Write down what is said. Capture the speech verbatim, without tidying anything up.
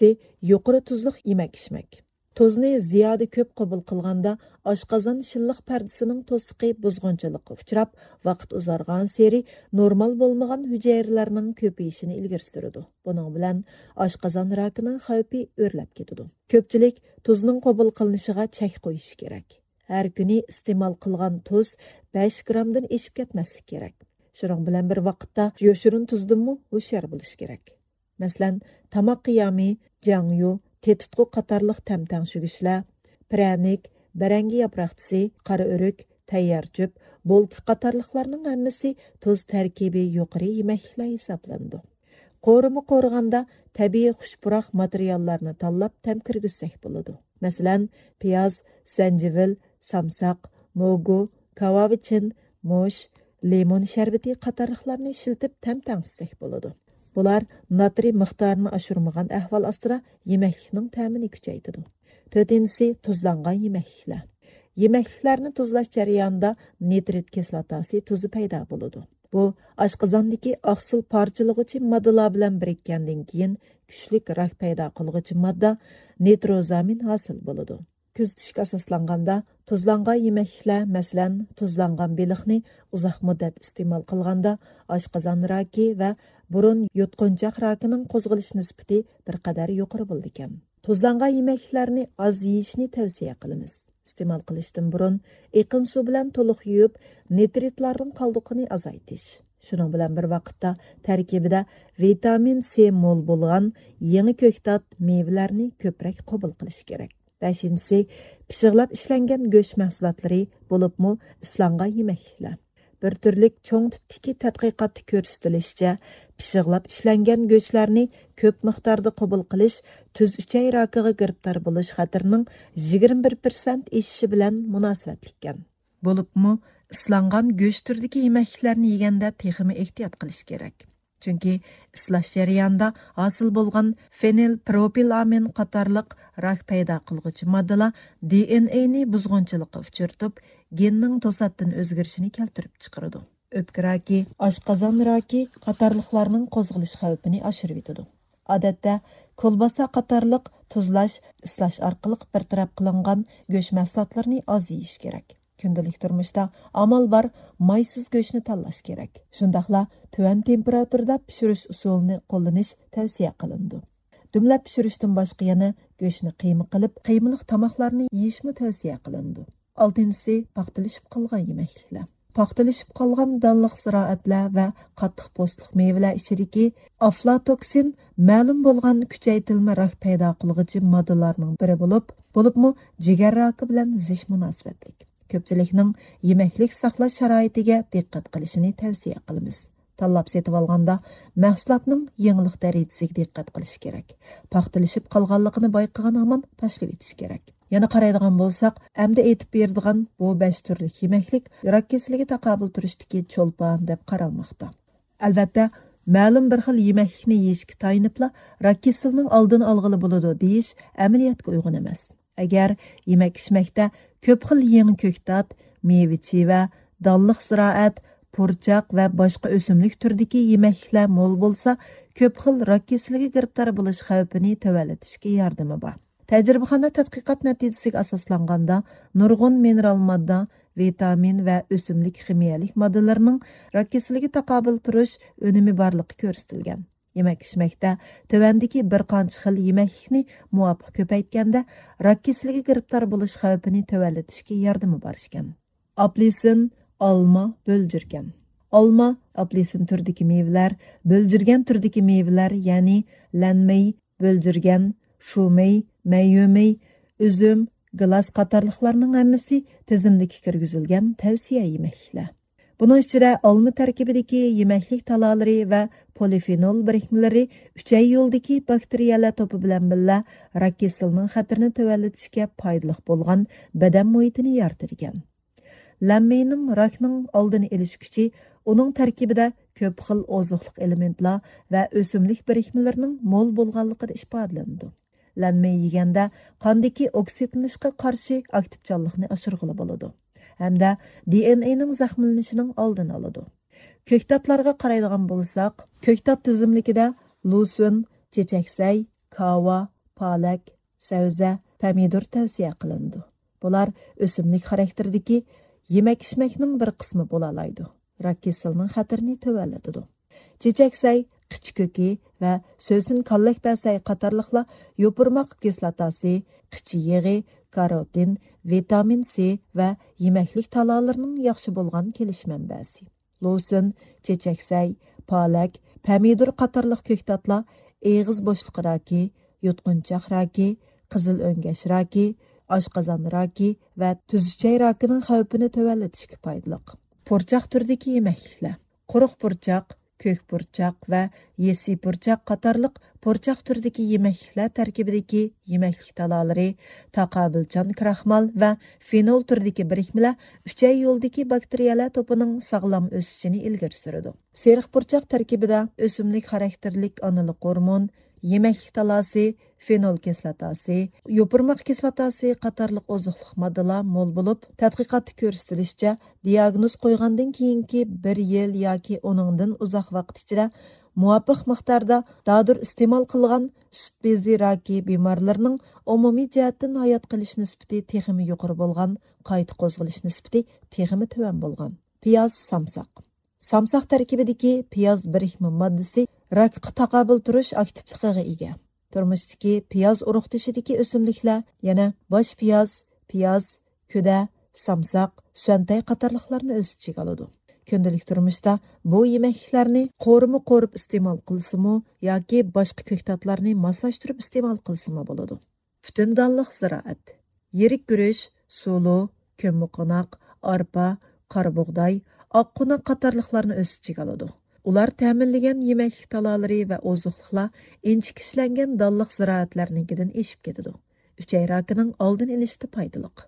يەتتىنچىسى، يۇقىرى تۇزلۇق يېمەك ئىچمەك. تۇزنى زىيادە كۆپ قوبۇل قىلغاندا، ئاشقازان شىللىق پەردىسىنىڭ توسۇقى بۇزغۇنچىلىققا ئۇچراپ، ۋاقىت ئۇزارغانسېرى نورمال بولمىغان ھۈجەيرىلەرنىڭ كۆپىيىشىنى ئىلگىرى سۈرىدۇ. بۇنىڭ بىلەن ئاشقازان راكىنىڭ خەۋپى ئۆرلەپ كېتىدۇ. كۆپچىلىك تۇزنىڭ قوبۇل قىلىنىشىغا چەك قويۇشى كېرەك. ھەر كۈنى ئىستېمال قىلغان تۇز بەش گرامدىن ئېشىپ كەتمەسلىكى كېرەك. شۇنىڭ بىلەن بىر ۋاقىتتا، يوشۇرۇن تۇزدىنمۇ ھوشيار بولۇش كېرەك. مەسىلەن، تاماق قىيامى، جياڭيۇ، تېتىتقۇ قاتارلىق تەم تەڭشىگۈچلەر، پىرەنىك، بەرەڭگە ياپراقچىسى، قارا ئۆرۈك، تەييار چۆپ، بولكا قاتارلىقلارنىڭ ھەممىسى تۇز تەركىبى يۇقىرى يېمەكلىكلەر ھېسابلىنىدۇ. قورۇما قورۇغاندا تەبىئىي خۇش پۇراق ماتېرىياللارنى تاللاپ تەم كىرگۈزسەك بولىدۇ. مەسىلەن، پىياز، زەنجىۋىل، سامساق، موگۇ، كاۋاۋىچىن، مۇش، لىمون شەربىتى قاتارلىقلارنى ئىشلىتىپ تەم تەڭشىسەك بولىدۇ. بۇلار ناترىي مىقدارىنى ئاشۇرمىغان ئەھۋال ئاستىدا يېمەكلىكنىڭ تەمىنى كۈچەيتىدۇ. تۆتىنچىسى، تۇزلانغان يېمەكلىكلەر. يېمەكلىكلەرنى تۇزلاش جەريانىدا نىترىت كىسلاتاسى تۇزى پەيدا بولىدۇ. بۇ ئاشقازاندىكى ئاقسىل پارچىلىغۇچى ماددىلار بىلەن بىرىككەندىن كېيىن، كۈچلۈك راك پەيدا قىلغۇچى ماددا نىتروزامىن ھاسىل بولىدۇ. كۆزىتىشكە ئاساسلانغاندا، تۇزلانغان يېمەكلىكلەر، مەسىلەن، تۇزلانغان بېلىقنى ئۇزاق مۇددەت ئىستېمال قىلغاندا، ئاشقازان راكى ۋە بۇرۇن يۇتقۇنچاق راكىنىڭ قوزغىلىش نىسبىتى بىر قەدەر يۇقىرى بولىدىكەن. تۇزلانغان يېمەكلىكلەرنى ئاز يېيىشنى تەۋسىيە قىلىمىز. ئىستېمال قىلىشتىن بۇرۇن ئېقىن سۇ بىلەن تولۇق يۇيۇپ، نىترىتلارنىڭ قالدۇقىنى ئازايتىش. شۇنىڭ بىلەن بىر ۋاقىتتا، تەركىبىدە ۋىتامىن سى مول بولغان يېڭى كۆكتات، مېۋىلەرنى كۆپرەك قوبۇل قىلىش كېرەك. بەشىنچىسى، پىششىقلاپ ئىشلەنگەن گۆش مەھسۇلاتلىرى، بولۇپمۇ ئىسلانغان يېمەكلىكلەر. بىر تۈرلۈك چوڭ تىپتىكى تەتقىقاتتا كۆرسىتىلىشىچە، پىششىقلاپ ئىشلەنگەن گۆشلەرنى كۆپ مىقداردا قوبۇل قىلىش تۈز ئۈچەي راكىغا گىرىپتار بولۇش خەتىرىنىڭ يىگىرمە بىر پىرسەنت ئېشىشى بىلەن مۇناسىۋەتلىككەن. بولۇپمۇ ئىسلانغان گۆش تۈرىدىكى يېمەكلىكلەرنى يېگەندە تېخىمۇ ئېھتىيات قىلىش كېرەك. چۈنكى ئىسلاش جەريانىدا ھاسىل بولغان فېنىلپروپىلامىن قاتارلىق راك پەيدا قىلغۇچى ماددىلار دى ئېن ئېينى بۇزغۇنچىلىققا ئۇچرىتىپ، گېننىڭ توساتتىن ئۆزگىرىشىنى كەلتۈرۈپ چىقىرىدۇ. ئۆپكە راكى، ئاشقازان راكى قاتارلىقلارنىڭ قوزغىلىش خەۋپىنى ئاشۇرۇۋېتىدۇ. ئادەتتە، كولباسا قاتارلىق تۇزلاش، ئىسلاش ئارقىلىق بىر تەرەپ قىلىنغان گۆش مەھسۇلاتلىرىنى ئاز يېيىش كېرەك. كۈندىلىك تۇرمۇشتا ئامال بار مايسىز گۆشنى تاللاش كېرەك. شۇنداقلا تۆۋەن تېمپېراتۇرىدا پىشۇرۇش ئۇسۇلىنى قوللىنىش تەۋسىيە قىلىنىدۇ. دۈملەپ پىشۇرۇشتىن باشقا يەنە گۆشنى قىيما قىلىپ، قىيمىلىق تاماقلارنى يېيىشمۇ تەۋسىيە قىلىنىدۇ. ئالتىنچىسى، پاختىلىشىپ قالغان يېمەكلىكلەر. پاختىلىشىپ قالغان دانلىق زىرائەتلەر ۋە قاتتىق پوستلۇق مېۋىلەر ئىچىدىكى ئافلاتوكسىن مەلۇم بولغان كۈچەيتىلمە راك پەيدا قىلغۇچى ماددىلارنىڭ بىرى بولۇپ، بولۇپمۇ جىگەر راكى بىلەن زىچ مۇناسىۋەتلىك. كۆپچىلىكنىڭ يېمەكلىك ساقلاش شارائىتىگە دىققەت قىلىشىنى تەۋسىيە قىلىمىز. تاللاپ سېتىۋالغاندا مەھسۇلاتنىڭ يېڭىلىق دەرىجىسىگە دىققەت قىلىش كېرەك. پاختىلىشىپ قالغانلىقىنى بايقىغان ھامان تاشلىۋېتىش كېرەك. يەنە قارايدىغان بولساق، ئەمدى ئېيتىپ بېرىدىغان بۇ بەش تۈرلۈك يېمەكلىك راك كېسىلىگە تاقابىل تۇرۇشتىكى چولپان دەپ قارالماقتا. ئەلۋەتتە، مەلۇم بىر خىل يېمەكلىكنى يېيىشكە تايىنىپلا راك كېسىلىنىڭ ئالدىنى ئالغىلى بولىدۇ دېيىش ئەمەلىيەتكە ئۇيغۇن ئەمەس. ئەگەر يېمەك-ئىچمەكتە كۆپ خىل يېڭى كۆكتات، مېۋە-چىۋە، دانلىق زىرائەت، پۇرچاق ۋە باشقا ئۆسۈملۈك تۈرىدىكى يېمەكلىكلەر مول بولسا، كۆپ خىل راك كېسىلىگە گىرىپتار بولۇش خەۋپىنى تۆۋەنلىتىشكە ياردىمى بار. تەجرىبىخانا تەتقىقات نەتىجىسىگە ئاساسلانغاندا، نۇرغۇن مىنېرال ماددا، ۋىتامىن ۋە ئۆسۈملۈك خىمىيەلىك ماددىلىرىنىڭ راك كېسىلىگە تاقابىل تۇرۇش ئۈنۈمى بارلىقى كۆرسىتىلگەن. يېمەك-ئىچمەكتە تۆۋەندىكى بىر قانچە خىل يېمەكلىكنى مۇۋاپىق كۆپەيتكەندە، راك كېسىلىگە گىرىپتار بولۇش خەۋپىنى تۆۋەنلىتىشكە ياردىمى بار ئىكەن. ئاپېلسىن، ئالما، بۆلجۈرگەن. ئالما، ئاپېلسىن تۈرىدىكى مېۋىلەر، بۆلجۈرگەن تۈرىدىكى مېۋىلەر، يەنى لەنمېي، بۆلجۈرگەن، شۇمېي، مەييۈمېي، ئۈزۈم، گىلاس قاتارلىقلارنىڭ ھەممىسى تىزىملىككە كىرگۈزۈلگەن تەۋسىيە يېمەكلىكلەر. بۇنىڭ ئىچىدە ئالما تەركىبىدىكى يېمەكلىك تالالىرى ۋە پولىفېنول بىرىكمىلىرى ئۈچەي يولىدىكى باكتېرىيەلەر توپى بىلەن بىللە راك كېسىلىنىڭ خەتىرىنى تۆۋەنلىتىشكە پايدىلىق بولغان بەدەن مۇھىتىنى يارىتىدىكەن. لەنمېينىڭ راكنىڭ ئالدىنى ئېلىش كۈچى ئۇنىڭ تەركىبىدە كۆپ خىل ئوزۇقلۇق ئېلېمېنتلار ۋە ئۆسۈملۈك بىرىكمىلىرىنىڭ مول بولغانلىقىدا ئىپادىلىنىدۇ. لەنمېي يېگەندە قاندىكى ئوكسىدلىنىشقا قارشى ئاكتىپچانلىقنى ئاشۇرغىلى بولىدۇ ھەمدە دى ئېن ئېينىڭ زەخىملىنىشىنىڭ ئالدىنى ئالىدۇ. كۆكتاتلارغا قارايدىغان بولساق، كۆكتات تىزىملىكىدە لۇسۈن، چېچەكسەي، كاۋا، پالەك، سەۋزە، پەمىدۇر تەۋسىيە قىلىنىدۇ. بۇلار ئۆسۈملۈك خاراكتېرىدىكى يېمەك-ئىچمەكنىڭ بىر قىسمى بولالايدۇ. راك كېسىلىنىڭ خەتىرىنى تۆۋەنلىتىدۇ. چېچەكسەي، قىچا كۆكى ۋە سۆسۈن كاللەكبەسەي قاتارلىقلار يوپۇرماق كىسلاتاسى، قىچا يېغى، كاروتىن، ۋىتامىن سى ۋە يېمەكلىك تالالىرىنىڭ ياخشى بولغان كېلىش مەنبەسى. لوسۇن، چېچەكسەي، پالەك، پەمىدۇر قاتارلىق كۆكتاتلار ئېغىز بوشلۇقى راكى، يۇتقۇنچاق راكى، قىزىل ئۆڭگەش راكى، ئاشقازان راكى ۋە تۈزۈچەي راكىنىڭ خەۋپىنى تۆۋەنلىتىشكە پايدىلىق. پۇرچاق تۈرىدىكى يېمەكلىكلەر. قۇرۇق پۇرچاق، كۆك پۇرچاق ۋە يېسسى پۇرچاق قاتارلىق پۇرچاق تۈرىدىكى يېمەكلىكلەر تەركىبىدىكى يېمەكلىك تالالىرى تاقابىلچان كراخمال ۋە فېنول تۈرىدىكى بىرىكمىلەر ئۈچەي يولىدىكى باكتېرىيەلەر توپىنىڭ ساغلام ئۆسۈشىنى ئىلگىرى سۈرىدۇ. سېرىق پۇرچاق تەركىبىدە ئۆسۈملۈك خاراكتېرلىك ئانىلىق ھورمون، يېمەكلىك تالاسى، فېنول كىسلاتاسى، يوپۇرماق كىسلاتاسى قاتارلىق ئوزۇقلۇق ماددىلار مول بولۇپ، تەتقىقاتتا كۆرسىتىلىشىچە، دىياگنوز قويغاندىن كېيىنكى بىر يىل ياكى ئۇنىڭدىن ئۇزاق ۋاقىت ئىچىدە مۇۋاپىق مىقداردا دادۇر ئىستېمال قىلغان سۈت بېزى راكى بىمارلىرىنىڭ ئومۇمىي جەھەتتىن ھايات قېلىش نىسبىتى تېخىمۇ يۇقىرى بولغان، قايتا قوزغىلىش نىسبىتى تېخىمۇ تۆۋەن بولغان. پىياز، سامساق. سامساق تەركىبىدىكى پىياز بىرىكمە ماددىسى راكقا تاقابىل تۇرۇش ئاكتىپلىقىغا ئىگە. تۇرمۇشتىكى پىياز ئۇرۇقدىشىدىكى ئۆسۈملۈكلەر يەنە باش پىياز، پىياز، كۈدە، سامساق، سۈەنتەي قاتارلىقلارنى ئۆز ئىچىگە ئالىدۇ. كۈندىلىك تۇرمۇشتا بۇ يېمەكلىكلەرنى قورۇما قورۇپ ئىستېمال قىلسىمۇ ياكى باشقا كۆكتاتلارنى ماسلاشتۇرۇپ ئىستېمال قىلسىمۇ بولىدۇ. پۈتۈن دانلىق زىرائەت. يىرىك گۈرۈچ، سۇلۇ، كۆممىقوناق، ئارپا، قارا بۇغداي، ئاق قوناق قاتارلىقلارنى ئۆز ئىچىگە ئالىدۇ. ئۇلار تەمىنلىگەن يېمەكلىك تالالىرى ۋە ئوزۇقلۇقلار ئىنچىكە ئىشلەنگەن دانلىق زىرائەتلەرنىڭكىدىن ئېشىپ كېتىدۇ. ئۈچەي راكىنىڭ ئالدىنى ئېلىشتا پايدىلىق.